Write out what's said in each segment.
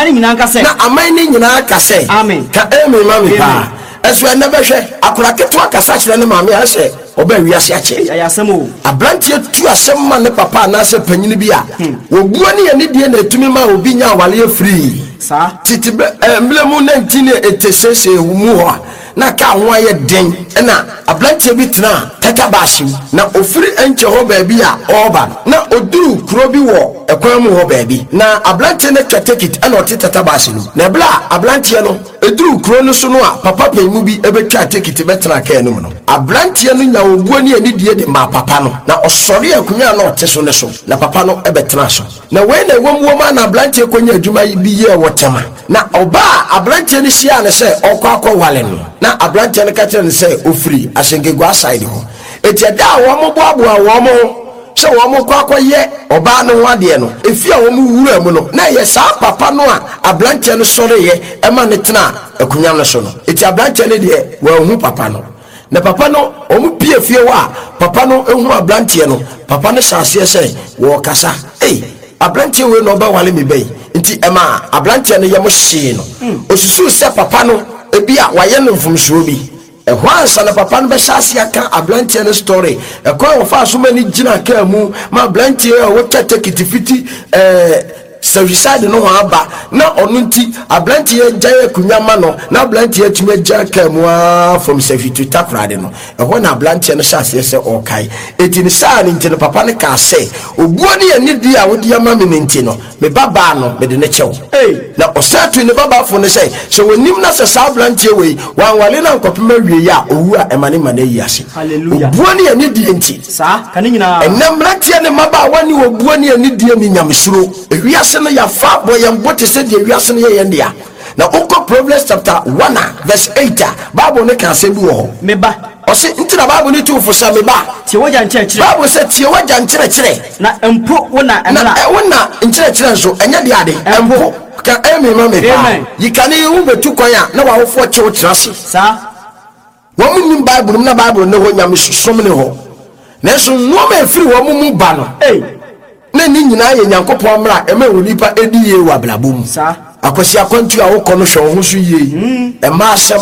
aman no nyinaa nka sɛ. Na aman no nyinaa ka sɛ. Amen. Ka amen ma me paa. Ɛso ɛnnɛ bɛhwɛ, akwadaa ketewa kasa kyerɛ ne maame a, ɛsɛ ɔbaa wiase akyɛ. Ei, ɛyɛ asɛm o. Aberanteɛ tu asɛm ma ne papa anaasɛ panyini bi a, obuo ne anidie na ɛtumi ma obi nya awareɛ firii. Saa. Tete bɛ, eh, mmerɛ mu 1986 mu hɔ a, na kaa ho ayɛ den na aberanteɛ bi tenaa tata baase mu. Na ɔfiri Enche hɔ baabi a ɔreba no, na ɔduruu kuro bi wɔ ɛkwan mu hɔ baabi. Na aberanteɛ no atwa tekit na ɔte tata baase no mu. Na ɛberɛ a aberanteɛ no duruu kuro no so no a papa panin bi bɛtwaa tekiti bɛtenaa kaa no mu no, aberanteɛ no nyaa obuo ne anidie de maa papa no, na ɔsɔree akonnwa a na ɔte so no so, na papa no bɛtenaa so. Na wei na ɛwom wom ara na aberanteɛ kɔnyaa adwuma bi yɛɛ wɔ Tema. Na ɔbaa a aberanteɛ no hyiaa no sɛ ɔrekɔ akɔwale no, na aberanteɛ no ka kyerɛɛ no sɛ ɔfiri Asenkeguaa side hɔ. Enti ɛda a wɔboaboaa wɔn ho sɛ wɔrekɔ akɔyɛ ɔbaa no ho adeɛ no, efie a wɔwuraa mu no, na ɛyɛ saa papa no a aberanteɛ no sɔreeɛ ma no tenaa akonnwa no so no. Enti aberanteɛ no deɛ, wanhu papa no. Na papa no, wɔpue fie hɔ a, papa no hu aberanteɛ no, papa no hyɛ aseɛ sɛ wɔrekasa. Ei, aberanteɛ wei na ɔbɛware me ba yi. Nti ɛmaa aberanteɛ no yam hyee no. Ɔsusuu sɛ papa no, ebia wayɛ no mfomsoɔ bi. Ɛhɔ ansa na papa no bɛhyɛ aseɛ aka aberanteɛ no story, ɛkwan a ɔfaa so ma no gyinaa kaa mu ma aberanteɛ a ɔtwa tekiti fiti ɛɛ Sahwiside no ho aba na ɔno nti aberanteɛ agyae akonnwa ma no na aberanteɛ atumi agyina kaa mu ara from Sahwi to Takoradi no, ɛhɔ na aberanteɛ no hyɛ aseɛ sɛ ɔrekae. Enti ne saa no nti no papa no kaa sɛ, Obuo ne anidie a wode ama me no nti no, Me babaa no, mede no kyɛ wo. Na ɔsan tuu ne babaa fo no sɛ, sɛ ɔnim na sɛ saa aberanteɛ wei, wanware no ankɔpem awieeɛ a, ɔwu a, ɛma ne mma no ayi ase. Hallelujah. Obuo ne anidie nti. Saa, ka ne nyinaa. Ɛnnɛ mmeranteɛ ne mmabaawa nni obuo ne anidie ne nyamesuro. Ewiase no, yɛafa abɔ yɛn bo te sɛ deɛ wiase no yɛ yɛn dea. Na wokɔ Proverbs chapter 1 a, verse 8 a, Bible no ka asɛm bi wɔ hɔ. Me ba. Ɔse, nti na Bible no tu wo fo sɛ, Me ba. Tie w'agya nkyerɛkyerɛ. Bible sɛ, tie w'agya nkyerɛkyerɛ. Na mpo wo na mmara. Na wo na nkyerɛkyerɛ nso, ɛnyɛ deɛ ade. Mpo. Ka amen ma me paa. Amen. Yi kane yi, wobɛtu kwan a, na w'awofoɔ kye wo tena ase. Saa. Wɔn nnim Bible mu na Bible nni hɔ, nyamesom nni hɔ. Nanso nnoɔma a ɛfiri wɔn mu ba no, na ne nyinaa yɛ Nyankopɔn mmara a ɛma onipa di yie wɔ abrabɔ mu. Akwasi akwantuo a wokɔ no, hwɛ wo ho so yie. Mma asɛm,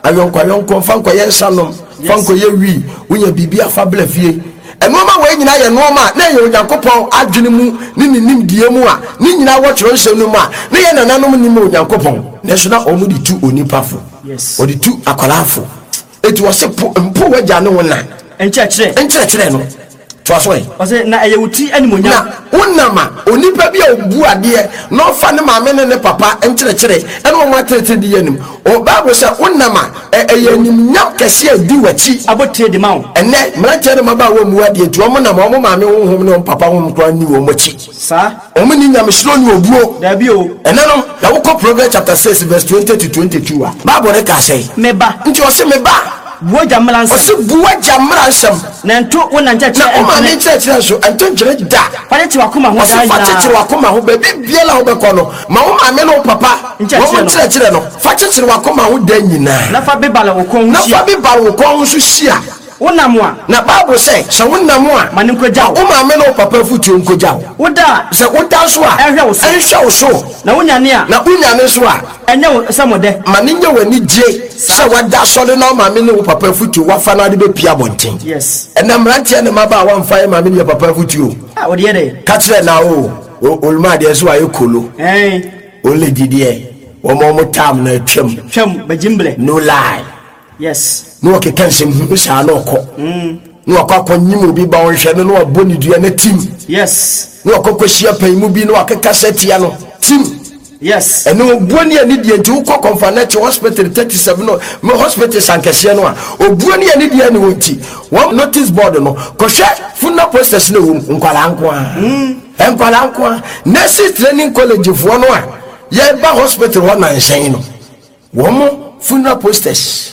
ayɔnkoayɔnkoɔ, mfa nkɔyɛ nsa nom, fa nkɔyɛ wii, wonya biribi a fa bra fie. Nnoɔma wei nyinaa yɛ nnoɔma a na ɛyɛ Onyankopɔn adwene mu ne ne nimdeɛ mu a ne nyinaa wɔ twerɛnsɛm no mu a na yɛn nananom nim Onyankopɔn, nanso na wɔde tu onipa fo. Wɔde tu akwadaa fo. Eti wɔse po mpo w'agya ne wo na. Nkyerɛkyerɛ. Nkyerɛkyerɛ no. Toa so ɛ. Ɔse na ɛyɛ wo ti animuonyam. Na wonam a onipa bi a obu adeɛ na ɔfa ne maame ne ne papa nkyerɛkyerɛ ɛne wɔn ateretere di yɛ anim. O Bible sɛ wonam a ɛ ɛyɛ animuonyam kɛseɛ a ɛdi w'akyi. Abotire de ma wo. Ɛnnɛ mmeranteɛ ne mmabaawa mmu adeɛ nti wɔn nam wɔn maame honhom ne wɔn papa honhom koraa nni wɔn akyi. Saa. Wɔn nni nyamesuro ne obuo. Dabi o. Ɛnnɛ no, na wokɔ Proverbs chapter 6 verse 20 to 22 a, Bible no ka sɛn? Me ba. Nti ɔse, me ba. Bu w'agya mmara nsɛm. Ɔse, bu w'agya mmara nsɛm. Na nto wo na nkyerɛkyerɛ Na wo maame ntwene. nkyerɛkyerɛ nso, nto ntwene da. Fa kyekyere w'akoma ho daa Ɔse, fa nyinaa. kyekyere w'akoma ho. Baabi biara a wobɛkɔ no, ma wo maame ne wo papa wɔn Nkyerɛkyerɛ no. nkyerɛkyerɛ no. Fa kyekyere w'akoma ho daa nyinaa. Na fa bebare wo kɔn ho Na hyia. fa bebare wo kɔn ho nso hyia. Wonam a. Na Bible sɛ, sɛ wonam a. Ma no nkogya wo. Ma wo maame ne wo papa afotuo nkogya wo. Woda a. Sɛ woda nso a. Ɛnhwɛ wo so. Ɛnhwɛ wo so. Na wonyane a. Na wonyane nso a. Ɛnyɛ wo sɛ mo dɛ. Ma no nyɛ w'anigye sɛ woada asɔre na wo maame ne wo papa afotuo woafa na wode bɛpue abɔnten. Yes. Ɛnnɛ mmeranteɛ ne mmabaawa mfa yɛn maame ne yɛn papa afotuo. Ah, wɔde yɛ dɛ. Ka kyerɛ na o, Oluma deɛ nso wayɛ kolo. Ɛn. Olegi deɛ, wɔn a wɔn tam no atwam. Twam, bɛgye mbrɛ. No lie. Yes. Na ɔkeka nsɛm hunu saa na ɔkɔ. Na wakɔ akɔnyim obi ba ɔnhwɛ no na wabɔ ne dua na tim. Yes. Na wakɔ kɔhyia pan mu bi na wakeka sɛ tia no tim. Yes. Ɛne obuo ne anidie nti wokɔ Kɔmfanɛkye hospital 37 no me hospital sankɛseɛ no a obuo ne anidie ne wɔ nti wɔn notice board no kɔhwɛ funeral posters no ɛwɔ mu nkwadaa nko ara nkwadaa nko ara nurses training college foɔ no a yɛba hospital hɔ nanhyɛn no Wɔn funeral posters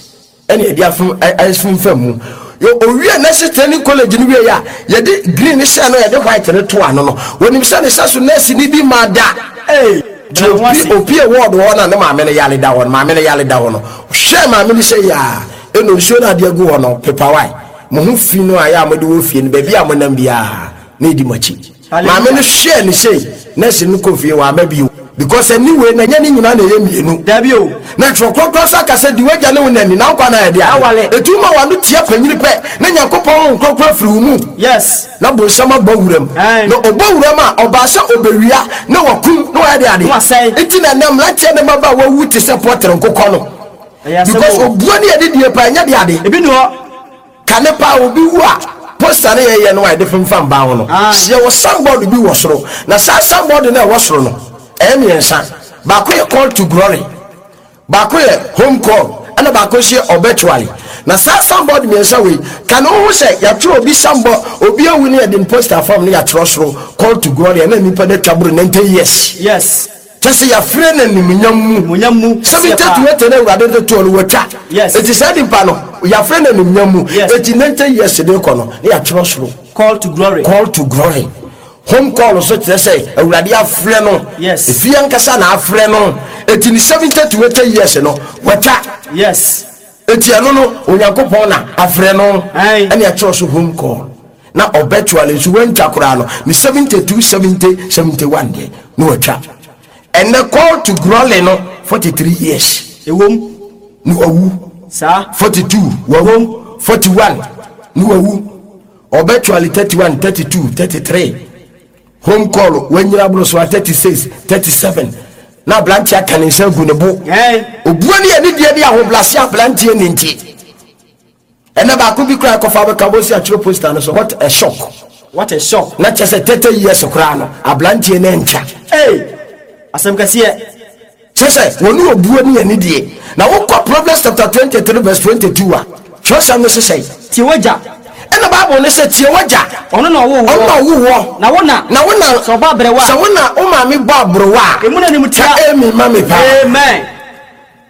ɛna yɛde afom afomfam mu. Owie nurses training college no wie a, yɛde green no hyɛ no yɛde white no to ano no. Wɔnim sɛ ne sɛ so nurse ni bi ma da. Ee, Nti opi opie ward hɔ na ne maame no yare da hɔ no, maame no yare da hɔ no. Hwɛ maame no sɛ yaa, ɛna nsuo no adeɛ gu hɔ no, pepa wae. Mo ho fi no a yɛ a mode wɔ fie no, baabi a monam biara na ɛdi mo akyi. Maame no hwɛɛ no sei, nurse no kɔ fie, wamma bio. Because ani wei na ɛnyɛ ne nyinaa na ɛyɛ mmienu. Dabi o. Na Twerɛ Kronkron nso aka sɛ, Di w'agya ne wo na ni, na wo nkwa nna ayɛ deɛ? Aware. Ɛtumi ma w'ano tia panyini pɛ, na Nyankopɔn Honhom Kronkron afiri wo mu. Yes. Na bonsam abɔ wuram. Aye. Na ɔbɔ wuram a, ɔbaa sɛ ɔbɛwia, na wakum, na wayɛ deɛ ade. Na wasɛe. Nti na ɛnnɛ mmeranteɛ ne mmabaa wawu te sɛ pɔtere nkokɔ no. Ɛyɛ asɛm Because o. obuo ne adidie paa, ɛnyɛ deɛ ade. Ebi ni hɔ. Kane paa obi wu a, poster no yɛyɛ no a yɛde femfam ban ho no, Aye. yɛwɔ signboard bi wɔ soro. Na saa signboard no a ɛwɔ soro no, ɛyɛ mmiɛnsa. Baako yɛ call to glory, baako yɛ home call, ɛna baako nso yɛ obituary. Na saa signboard mmiɛnsa wei, kane wohu sɛ yɛatwerɛ obi signboard, obi awu ne yɛde ne poster fam ne yɛatwerɛ soro call to glory, ɛna nipa no atwa boro 90 years. Yes. Kyɛ sɛ yɛafrɛ no animuonyam mu. Animuonyam mu kɛseɛ 70 paa. to 80 na Awurade de too no, watwa. Yes. Enti saa nipa no, yɛafrɛ no animuonyam mu. Yes. Enti 90 years de rekɔ no, na yɛatwerɛ soro. Call to glory. Call to glory. Home call nso kyerɛ sɛ Awurade afrɛ no. Yes. Efie ankasa na afrɛ no. Enti ne 70 to 80 years no, watwa. Yes. Enti ɛno no, Onyankopɔn na afrɛ no. Aye. Ɛna ɛkyerɛ so home call. Na ɔbɛtuale nso wantwa koraa no, ne 72, 70, 71 deɛ, na watwa. Ɛnɛ call to glory no, 43 years. Ɛwom. Na wawu. Saa. 42, wawu. 41, na wawu. Ɔbɛtuale 31, 32, 33. Home call, wanyina aboro so a 36, 37. Na aberanteɛ aka ne nsa agu ne bo. Aye. Obuo ne anidie ne ahobrɛase aberanteɛ ne nti. Ɛnɛ baako bi koraa kɔfa bɛka bɔ si atwerɛ poster no so what a shock. What a shock. Na kyerɛ sɛ 30 years koraa no aberanteɛ no antwa. Hey! Asɛm kɛseɛ. Kyerɛ sɛ wɔne obuo ne anidie. Na wokɔ Proverbs chapter 23 verse 22 a, twerɛsɛm no se sɛn? Tie w'agya. Ɛna Bible no sɛ tie w'agya. Ɔno na ɔwoo woɔ. Ɔno na ɔwoo woɔ. Na wo na. Na wo na. Sɛ ɔbɔ aberewa a. Sɛ wo na wo maame bɔ aberewa a. Emu na animtia. Ka amen ma me paa. Amen.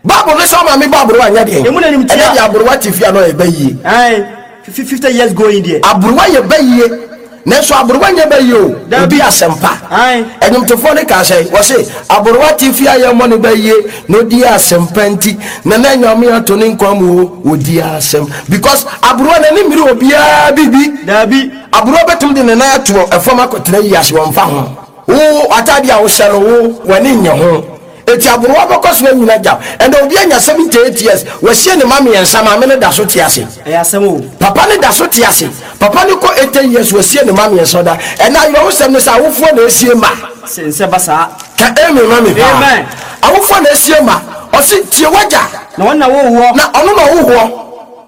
Bible no sɛ wo maame bɔ aberewa nyɛ deɛn? Emu na animtia. Ɛnɛ deɛ aberewa te fie a na ɔyɛ bayie. Ae, 50 years going deɛ. Aberewa yɛ bayie. Nanso aberewa nyɛ bayie o. Dabi. Odi asɛmpa. Ae. Ɛnwomtofoɔ no kaa sɛ, wɔse, aberewa te fie a yɛmmɔ no bayie na odi asɛmpa nti, na na Nyame ato ne nkwa mu o, odi asɛm. Because aberewa n'ani mmiri obiara biribi. Dabi. Aberewa bɛtumi de ne nan ato ɛfam akɔtena yi ase, wɔmfa ho. Wo ataadeɛ a wohyɛ no, wo w'ani nnye ho. Enti aberewa bɛkɔ so anyini agya. Ɛnna obi anya 78 years, wasie ne mma mmiɛnsa, maame no da so te ase. Ɛyɛ asɛm o. Papa no da so te ase. Papa no kɔ 80 years, wasie ne mma mmiɛnsa ɔda. Ɛnna awerɛhosɛm ne sɛ awofoɔ na esie mma. Sɛ nsɛ ba saa. Ka amen ma me paa. Amen. Awofoɔ na esie mma. Ɔse tie w'agya. Na ɔno na ɔwoo woɔ. Na ɔno na ɔwoo woɔ.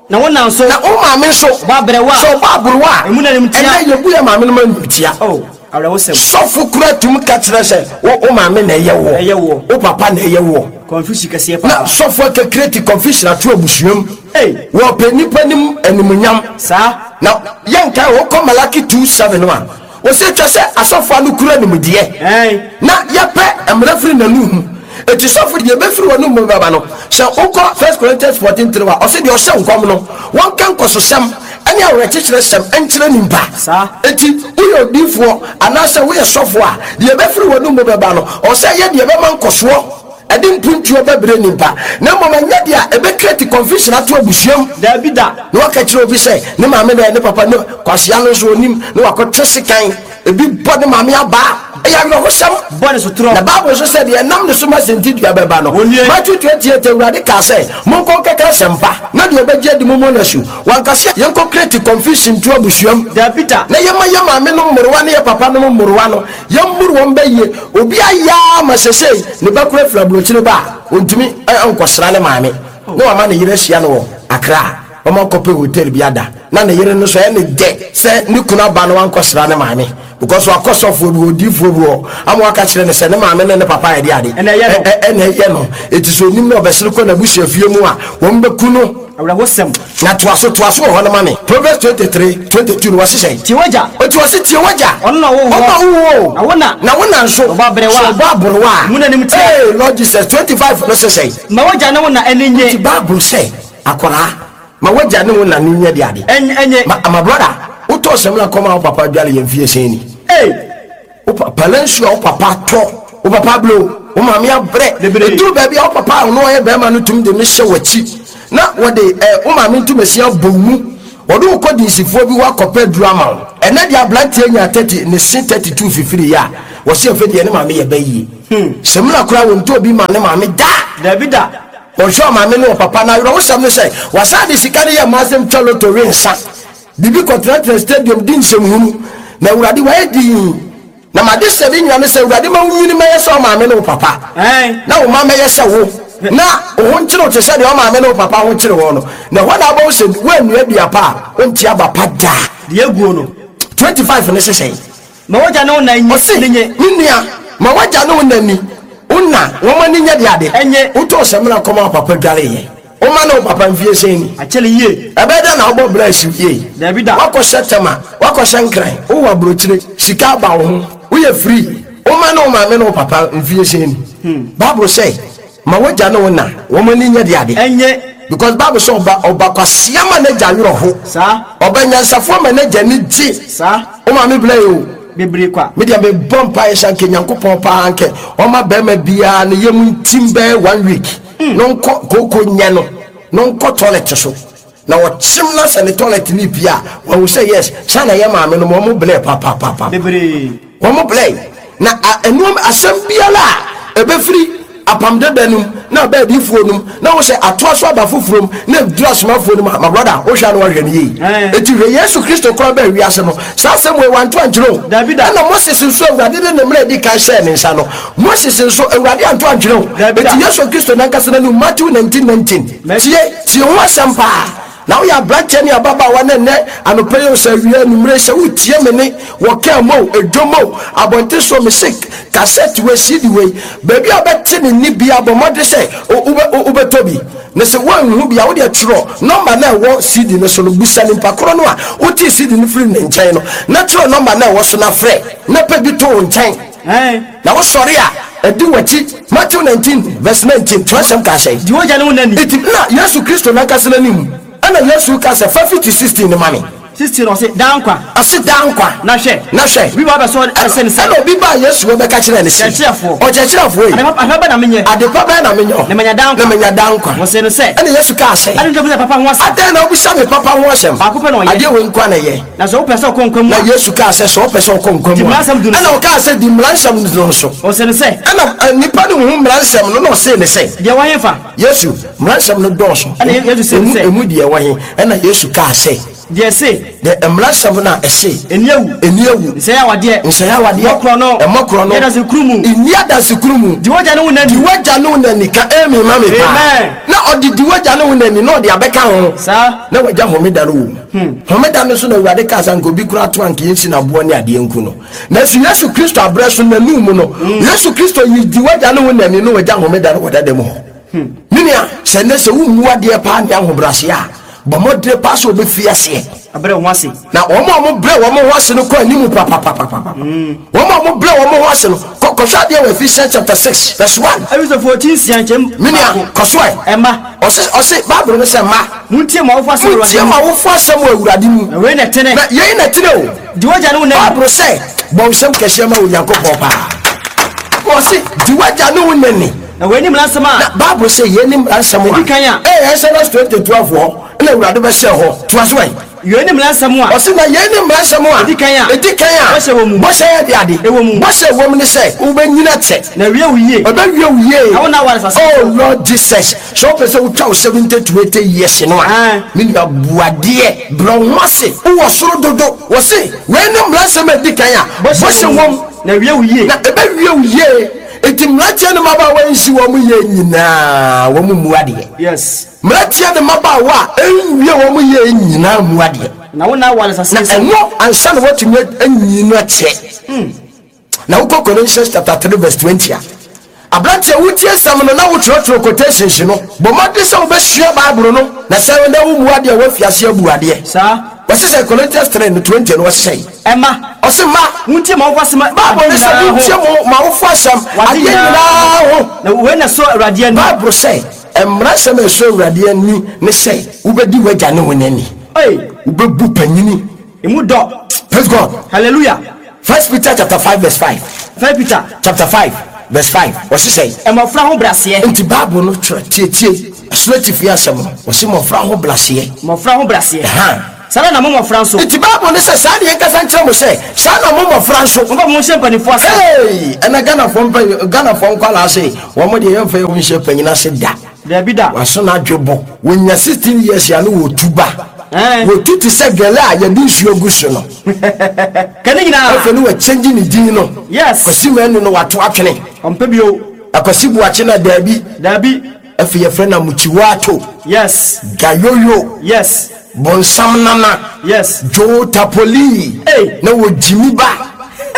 Na wo na nso. Na wo maame nso. Ɔbɔ aberewa a. Sɛ ɔbɔ aberewa a. Emu na animtia. Ɛnnɛ yɛbu yɛn maame nom animtia. Oh, awerɛhosɛm. Sɔfo kura tumi ka kyerɛ sɛ wo wo maame na ɛyɛ woɔ. Ɛyɛ woɔ. Wo papa na ɛyɛ woɔ. Confusion kɛseɛ paa. Na sɔfo akɛkreti confusion ato abusua mu. Ei. Wɔpɛ nnipa nim animuonyam. Saa. Na yɛnkae wokɔ Malaki 2:7 a, wɔsɛ ɛtwa sɛ asɔfo ano kura nimdeɛ. Ɛn. Na yɛpɛ mmara firi n'anom mu. Eti sɔfo deɛ ɛbɛfiri w'anom mu bɛba no, sɛ wokɔ First Corinthians 14:3 a, ɔse deɛ ɔhyɛ nkɔm no, wɔnka nkɔsosɛm ne awerɛkyekyerɛsɛm nkyerɛ nimpa. Saa. Enti woyɛ odiyifoɔ anaasɛ woyɛ sɔfo a, deɛ ɛbɛfiri w'anom mu bɛba no, ɔwɔ sɛ ɛyɛ deɛ ɛbɛma nkɔsoɔ, ɛde mpuntuo bɛbrɛ nimpa, na mmom ɛnyɛ deɛ a ɛbɛcreate confusion ato abusua mu. Daabi da. Na waka kyerɛ obi sɛ ne maame na ɛyɛ ne papa, ne kwasea no nso ɔnim, na wakɔtwe sekan. Ebi bɔ ne maame abaa. Ɛyɛ awerɛhosɛm. Bɔ ne sotorɔ. Na Bible nso sɛ deɛ ɛnam ne so ma sintidua bɛba no. Wɔnnue. Matthew 28, Awurade kaa sɛ, Monkɔ nkɛka asɛmpa, na deɛ ɔbɛgye adi mommɔ no asu. Wanka sɛ yɛnkɔ create confusion nto abusua mu. Dabi da. Na yɛmma yɛn maame nom mmorowa ne yɛn papa nom mmorowa no, yɛmmoro wɔn bɛ yie. Obi ayɛ ara ma sesei ne ba kura firi aburokyire ba a, ɔntumi nkɔsra ne maame. Na wama ne yere ahyia no wɔ Accra. Wɔakɔpɛ hotel bi ada na ne yere no nso ɛyɛ ne dɛ sɛ ne kunu aba na wankɔsra ne maame because wakɔ sɔfoɔ bi hɔ, odiyifoɔ bi hɔ ama waka kyerɛ no sɛ ne maame ne ne papa yɛ de ade Ɛna ɛyɛ no. ɛna ɛyɛ no. Eti sɛ onim na ɔbɛsere kɔ n'abusua fie mu a, wɔn bɛku no. Awerɛhosɛm. Na toa so, toa so wɔ hɔ no ma me. Proverbs 23, 22 no wɔse sɛn? Tie w'agya. Eti wɔse tie w'agya. Ɔno na ɔwoo woɔ. Ɔno na ɔwoo wo o. Na wo na. Na wo na nso. Sɛ ɔbɔ aberewa a. Sɛ ɔbɔ aberewa a. Emu na animtia. Ee, Lord Jesus, 25 no se sɛn? Ma w'agya ne wo na ani nnye. Nti Bible sɛ. Akwadaa, ma w'agya ne wo na no nyɛ de ade. Ɛnyɛ. Ma, my brother, wotɔɔ samina kɔma wo papa dwale yɛ mfie sɛn ni? Ei! Wo papa nsuo a wo papa tɔ, wo papa abrɛ o, wo maame abrɛ. Bebree. Ɛduru baabi a wo papa a ɔno ɔyɛ bɛrima no tumi de no hyɛ w'akyi na wɔde eh, wo maame ntomasin abɔ wo mu. Wɔde wo kɔ dinsifoɔ bi hɔ akɔpɛ aduru ama wo. Ɛnɛ deɛ aberanteɛ nya 30, ne se 32 fifiri yɛ a, wɔse afei deɛ ne maame yɛ bɛ yie. Samina koraa wɔntɔɔ bi maa ne maame da. Dabi da. Ɔhwɛ ɔmaame ne ɔpapa no awerɛhosɛm ne sɛ wasan de sika no yɛ mmaa asɛm twa loto we nsa biribi kɔtenatena stadium di nsɛmhunu na Awurade wayɛ dinn. Na m'adesrɛde nyina ne sɛ Awurade ma wo nyini mɛyɛ sɛ ɔmaame ne wo papa na wo mma mɛyɛ sɛ wo na wo ho nkyere wo te sɛ deɛ ɔmaame ne wo papa ho kyere wɔn no na ɛhɔ na wobɛhu sɛ woannua dua pa a wonte aba pa da. Deɛ aguo no. 25 ne sesɛn. Ma w'agya ne wo na nyi Ɔse, ne nye. Me nua, ma w'agya ne wo na ni, wo na, wɔn ani nyɛ de ade. Ɛnye. Wotɔɔ samina kɔmaa wo papa dwareeɛ. Woma ne wo papa mfie sɛn ni? Akyɛre yie. Ɛbɛyɛ dɛn na wobɔ bra asiw yie? Daabi da. Woakɔhyɛ Tema, woakɔhyɛ Nkran, wowɔ aburokyire, sika aba wo ho, woyɛ free. Woma ne wo maame ne wo papa mfie sɛn ni? Bible sɛ, Ma w'agya ne wo na, wɔn ani nyɛ de ade. Ɛnye. Because Bible sɛ ɔba ɔba kwasea ma n'agya werɛ ho. Saa. Ɔba nyansafoɔ ma n'agya ani gye. Saa. Wo maame brɛ yɛ o. Bebree kwa. Me deɛ me bɔ mpaeɛ sɛ anka Nyankopɔn paa anka ɔma bɛrima biara ne yam ntim bɛyɛ one week na ɔnkɔ kooko nyɛ no na ɔnkɔ toilet so na ɔkyem na sɛ ne toilet ne pie a wahu sɛ yes saa na yɛ maame nom wɔn blɛ papapapa. Bebree. Wɔn blɛ na ɛnoɔm asɛm biara a ɛbɛfiri Apam Dada no mu na aba adiyifoɔ no mu na wo sɛ atoa so aba foforɔ mu na ɛduru asomafoɔ no mu a, my brother, wohwɛ a na wahwɛ no yie. Enti hwɛ Yesu Kristo koraa baa wiase no, saa asɛm wei wanto ankyerɛ o. Dabi da. Ɛna Moses nso Awurade de ne mmara a ɛdi kan hyɛɛ ne nsa no, Moses nso Awurade anto ankyerɛ o. Dabi da. Enti Yesu Kristo nankasa n'anim, Matthew 19, 19. Tie, tie ho asɛm paa. Na woyɛ aberanteɛ ne ababaawa na ɛnnɛ anɔpa yi o, sɛ awia, anwummere, sɛ woretie me nne wɔ kaa mu o, dwom o, abɔnten so o, mese kasɛt wei, CD wei, baabi a wobɛte me nne biara, bɔ mmɔden sɛ wobɛtɔ bi. Na sɛ woanhu bi a, wo deɛ twerɛ nɔmba no a ɛwɔ CD no so no, bisa nipa korɔ no a wotee CD no firii ne nkyɛn no, na twerɛ nɔmba no a ɛwɔ so na frɛ, na pɛ bi to wo nkyɛn. Na wosɔre a, ɛdi w'akyi. Matthew 19 verse 19, twerɛsɛm kaa sɛn? Di w'agya ne wo na ni. Enti na Yesu Kristo n'ankasa n'anim ɛna Yesu reka sɛ, Fa fiti 16 no ma me. 16 ɔse, Daa nkwa. Ɔse, Daa nkwa. Na hwɛ. Na hwɛ. Obi ba bɛsɔ ɛsɛ ne sɛ. Ɛna obi baa Yesu hɔ bɛka kyerɛɛ no se, Kyerɛkyerɛfoɔ. Ɔkyerɛkyerɛfoɔ ei. Adepa bɛn na menyɛ? Adepa bɛn na menyɛ? Na manya daa nkwa. Na manya daa nkwa. Ɔsee no sɛ. Ɛna Yesu kaa sɛ. Adɛn nti na wobisa me papa ho asɛm? Adɛn na wobisa me papa ho asɛm? Baako pɛ na ɔyɛ. Adeɛ wei nko ara na ɛyɛ. Na sɛ wopɛ sɛ wokɔ nkwa mu a. Na Yesu kaa sɛ, Sɛ wopɛ sɛ wokɔ nkwa mu a. Di mmara nsɛm du no so. Ɛnna ɔkaa sɛ, Di mmara nsɛm du no so. Ɔsee no sɛ. Ɛnna nnipa no huu mmara nsɛm no, na ɔsee no sɛ. Deɛ ɛwɔ hefa? Yesu, mmara nsɛm no dɔɔso. Ɛnna Yesu see no sɛ. Emu deɛ ɛwɔ he? Ɛnna Yesu kaa sɛ. Deɛ ɛse. Deɛ mmara nsɛm no a ɛse. Nni awu. Nni awu. Nsɛe awadeɛ. Nsɛe awadeɛ. Mmɔ korɔno. Mmɔ korɔno. Nni adansekurumu. Nni adansekurumu. Di w'agya ne wo na ni. Di w'agya ne wo na ni. Ka amen ma me paa. Amen. Na ɔde di w'agya ne wo na ni na ɔde abɛka ho. Saa. Na w'agya homeda no wɔ mu. Homeda no so na Awurade kaa sɛ anka obi koraa to anka yɛnsi no aboɔ ne adeɛ nku no. Nanso Yesu Kristo aberɛ so n'anum mu no, Yesu Kristo yi di w'agya ne wo na ni na w'agya homeda no wɔ dada mu hɔ. Me nua, sɛ nnɛ sɛ wommu adeɛ paa ne ahobrɛaseɛ a, bɔ mmɔdene paa sɛ wobɛfiri aseɛ. Abrɛ wo ho ase. Na wɔn a wɔbrɛ wɔn ho ase no kɔ anim papapapapa. Wɔn a wɔbrɛ wɔn ho ase no, kɔ kɔhwɛ adeɛ wɔ Ephesians chapter 6 verse 1. Efesofoɔ ti nsia nkyɛm Me nua, baako. kɔ so ɛ. Mma. Ɔse, ɔse, Bible no sɛ, Mma. Montie mo awofo asɛm wɔ Awurade Montie mu. mo awofo asɛm wɔ Awurade mu. Na wei na ɛtene. Na yei na ɛtene o. Di w'agya ne wo na ni. Bible sɛ, bɔ nsɛm kɛseɛ ma Onyankopɔn paa. Ɔse, di w'agya ne wo na ni. Na wei ne mmara nsɛm a. Na Bible sɛ, yei ne mmara nsɛm a. Ɛdi kan a. Ɛyɛ Exodus 20:12 hɔ na Awurade bɛhyɛɛ hɔ. Toa so ɛ. Yei ne mmara nsɛm a. Ɔse, na yei ne mmara nsɛm a. Ɛdi kan a. Ɛdi kan a. Bɔhyɛ wɔ mu. Bɔhyɛ yɛ de ade. Ɛwɔ mu. Bɔhyɛ ɛwɔ mu ne sɛ, wobɛnyini akyɛ. Na awie wo yie. Ɛbɛwie wo yie. Na wo nna aware asase so. Oh Lord Jesus, sɛ wopɛ sɛ wotwa wo 70 to 80 years no a, me nua bu adeɛ, brɛ wo ho ase, wowɔ soro dodo. Wɔse, wei ne mmara nsɛm a ɛdi kan a, bɔhyɛ wɔ mu. Na awie wo yie. Na ɛbɛwie wo yie. Enti mmeranteɛ ne mmabaawa nsi wɔn yie nyinaa, wɔn mmu adeɛ. Yes. Mmeranteɛ ne mmabaawa a ɛnwie wɔn yie nyinaa mmu adeɛ. Na wo nna aware asase Na so. ɛno ansa na woatumi anyi no akyɛ. Na wokɔ Colossians chapter 3 verse 20 a, aberanteɛ wotie nsɛm no na wotwerɛtwerɛ quotations no, bɔ mmɔden sɛ wobɛsua Bible no, na sɛ na wommu adeɛ a woafi ase abu adeɛ. Saa. Wɔse sɛ Corinthians 3 no 20 no wɔse sɛn? Ɛmma. Ɔse mma. Montie mo awofo asɛm Bible ade no sɛ nyinaa ho. montie mo mo awofo asɛm Wɔ ade adeɛ nyinaa nyinaa ho. Na wei na ɛsɔ Awurade ani. Bible sɛ mmara nsɛm a ɛsɔ Awurade ani ne sɛ wobɛdi w'agya ne wo na ni. Ei. Wobɛbu panyini. Emu dɔ. Praise God. Hallelujah. First Peter chapter 5 verse 5. First Peter. Chapter 5 verse 5. Wɔse sɛn? Mmɔfra ho braseɛ. Nti Bible no twerɛ tietie ɛsoro atifi asɛm no. Wɔse mmɔfra ho braseɛ. Mmɔfra ho braseɛ. Ɛha. Saa ara na mo mmɔfra nso. Nti Bible no sɛ, saa na yɛnkasa nkyerɛ mo sɛ, saa na mo mmɔfra nso. Momfa mo ho nhyɛ mpanimfoɔ ase. Hey! Ɛnɛ Ghanafoɔ mpa Ghanafoɔ nkwadaa se, wɔn deɛ yɛmfa yɛn ho nhyɛ panyin ase da. Dabi da. Waso n'adwe bɔ. Wɔnya 16 years a no wɔtu ba. Ɛn. Wɔtu te sɛ gɛlɛ a yɛde nsuo gu so no. Ka ne nyinaa. Afei no wɔakyɛngye ne din no. Yes. Kwasi Manu no wato atwene. Ɔmpɛ bio. Akwasi Boakye na daabi. Dabi. Afei yɛfrɛ no Amuchiwato. Yes. Gayoyo. Yes. Bonsam Nana. Yes. Joe Tapoli. Hey. Na wɔ Jimmy ba.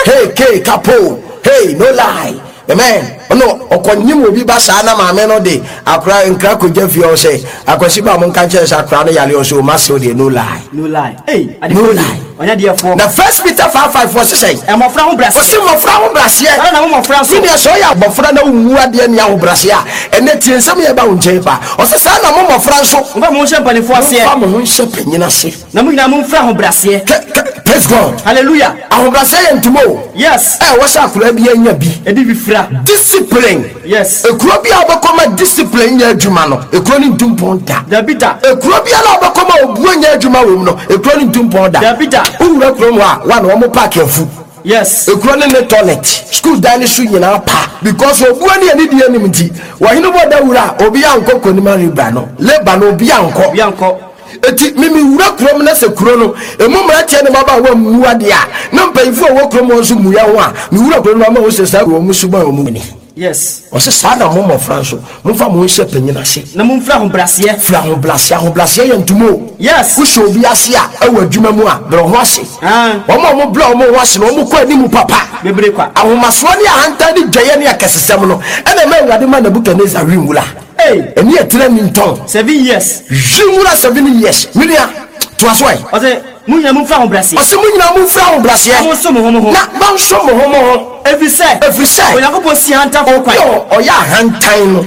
Hey K Kapo. Hey no lie. Amen. Ɔno ɔkɔnyim obi ba saa na maame no de akora nkra kɔgya fie hɔ sɛ akwasi ba mo nka nkyerɛ sɛ akora no yare ɔsɛ ɔma sew deɛ no lie. No lie. Hey. No lie. Ɔnyɛ deɛfoɔ. Na First Peter 5:5 wɔ sesɛn. Mmɔfra ho braseɛ. Ɔse mmɔfra ho braseɛ. Saa na mo mmɔfra nso. Me nua sɛ ɔyɛ abɔfra na wommu adeɛ ne ahobraseɛ a, ɛnɛ tie nsɛm yɛ ba wo nkyɛn pa. Ɔse saa na mo mmɔfra nso. Momfa mo ho nhyɛ mpanimfoɔ aseɛ. Momfa mo ho nhyɛ panyin ase. Na mo nyinaa momfira ahobraseɛ. Praise God. Hallelujah. Ahobraseɛ yɛ ntoma o. Yes. Ɛ wɔ sɛ akwadaa bi anya bi. Ebi bi fira. Discipline. Yes. Ekuro bi a wobɛkɔ ma discipline nyɛ adwuma no, ekuro no ntu mpɔn da. Dabi da. Ekuro biara a wobɛkɔ ma obuo nyɛ adwuma wɔ mu no, ekuro no ntu mpɔn da. Dabi da. Wowura kurom hɔ a, wa na wɔn paaki afu. Yes. Ekuro no ne toilet, school dan no so nyinaa pa because obuo ne anidie anim nti, wɔhene bɔ dawuro a, obi ankɔ Konima river no, labour no obi ankɔ. Obi ankɔ. Eti me mewura kurom na sɛ kuro no emu mmeranteɛ ne mmabaawa mmu adeɛ a, na mpanyinfoɔ a wɔwɔ kurom hɔ nso mmu yɛn ho a, mewura kuro no ama wɔn sɛ saa wɔn suban wɔn ni. Yes. Ɔsɛ saa na mo mmɔfra nso, momfa mo ho nhyɛ panyin ase. Na momfiri ahobrɛaseɛ. Firi ahobrɛaseɛ. Ahobrɛaseɛ yɛ ntoma o. Yes. Wohyɛ obi ase a, ɛwɔ adwuma mu a, brɛ wo ho ase. Ah. Wɔn a wɔbrɛ wɔn ho ase no, wɔkɔ anim papa. Bebree kwa. Ahomasoɔ ne ahantan ne dwaeɛ ne akɛsesɛm no, ɛna ɛma Awurade ma Nebukadnesar we nwura. Hey. Ɛne ɛtena ni ntɔn. 7 years. Hwi nwura 7 years. Me nua, toa so ɛ. Ɔsɛ mo nyinaa momfiri ahobrɛaseɛ. Ɔsɛ mo nyinaa momfiri ahobrɛaseɛ. Na monsom mo ho mo ho. Na monsom mo ho mo ho. Ɛfiri sɛ. Ɛfiri sɛ. Onyankopɔn si ahantanfoɔ kwan. Obi a ɔyɛ ahantan no,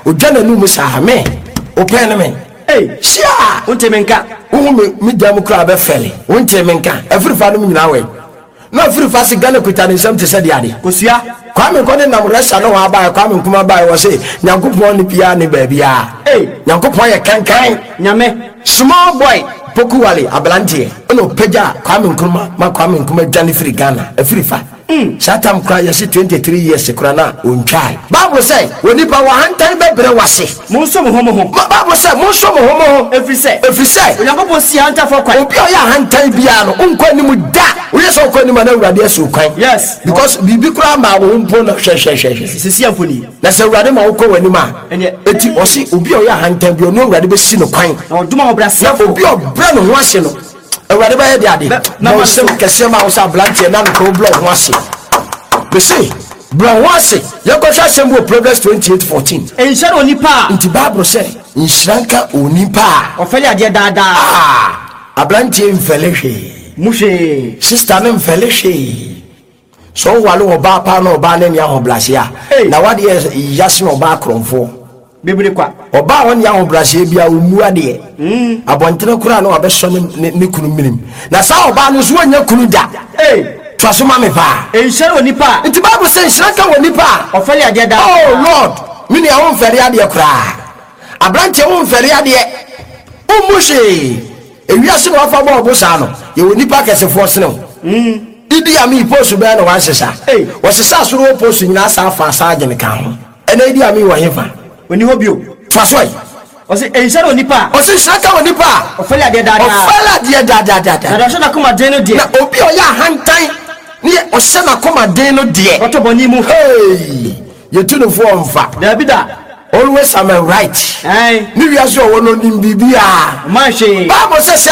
odwa n'anum saa me, wopɛn ne me. Hey. Hyia. Wonte me nka. Wohu me me dan mu koraa bɛfɛle. Wonte me nka. Afirifa nom nyinaa wɛ. Na afirifa se Ghana kuta ne nsam te sɛ deɛ ade. Kosua. Kwame Nkɔ ne nam Russia ne hɔ abaeɛ, Kwame Nkrumah baeɛ, wɔ se Nyankopɔn ne biara ne baabiara. Hey. Nyankopɔn yɛ kankan. Nyame. Small boy Poku Wale aberanteɛ ɛna ɔpagya Kwame Nkrumah ma Kwame Nkrumah dwane firi Ghana afirifa. Saa tam koraa yɛse 23 years koraa na ɔntwae. Bible sɛ onipa wɔ ahantan bɛbrɛ wase. Monsom mo ho mo ho. Bible sɛ monsom mo ho mo ho. Ɛfiri sɛ. Ɛfiri sɛ. Onyankopɔn si ahantanfoɔ kwan. Obi a ɔyɛ ahantan biara no wonkɔ anim da. Woyɛ sɛ wokɔ anim a na Awurade asi wo kwan. Yes. Because biribi koraa maa wo ho mpo na hwɛ hwɛ hwɛ hwɛ. Sisi amfoni. Na sɛ Awurade ma wokɔ w'anim a. Ɛneɛ. Eti ɔse obi a ɔyɛ ahantan biara ɔno Awurade bɛsi no kwan. Na ɔdom ahobrɛasefoɔ. Na obi a ɔbrɛ ne ho ase no, Awurade bɛyɛ de ade. Na bɔ nsɛm kɛseɛ ma wo sɛ aberanteɛ na nokora wobrɛ wo ho ase. Mese brɛ wo ho ase. Yɛnkɔhwɛ asɛm bi wɔ Proverbs 28:14. Nhyira ne onipa a. Nti Bible sɛ nhyira nka onipa a. Ɔfɛle adeɛ daadaa. Ah, aberanteɛ mfɛle hwee. Mu hwee. Sister no mfɛle hwee. Sɛ wowale ɔbaa paa na ɔbaa no ani ahobrɛaseɛ a, Hey. na wadeɛ yase na ɔbaa korɔmfoɔ. Bebree kwa. Ɔbaa a ɔne ahobrɛaseɛ bia ɔmmu adeɛ. Abɔntene koraa na wabɛsɔ ne kunu menem. Na saa ɔbaa no nso wɔnnya kunu da. Hey. Toa so ma me paa. Nhyira ne onipa a. Nti Bible sɛ nhyira nka wɔ nipa a. Ɔfɛle adeɛ daa. Oh Lord, me nua womfɛre adeɛ koraa. Aberanteɛ womfɛre adeɛ. Wommu hwee. Ewiase na wafa bɔɔ bo saa no, yɛwɔ nipa akɛsefoɔ sene wo. Idi Amin post bɛɛ na wansesa. Hey. Wɔsesa soro wɔ post nyinaa saa fa saa adwene ka ho. Ɛnɛ Idi Amin wɔ hefa? Ɔni hɔ bio. Toa so ɛ. Ɔsɛ nhyira ne onipa a. Ɔsɛ nhyira nka wɔ nipa a. Ɔfɛle adeɛ daadaa. Ɔfɛle adeɛ daadaadaada. Na deɛ ɔhyɛ n'akoma den no deɛ. Na obi a ɔyɛ ahantan ne yɛ ɔhyɛ n'akoma den no deɛ. Ɔtɔ bɔne mu. Hey! Yɛtu no foɔ mfa. Dabi da. Always I'm a right. Ɛn. Ne wiase ɔwɔ no ɔnim biribiara. Ɔman hwee. Bible sɛ saa.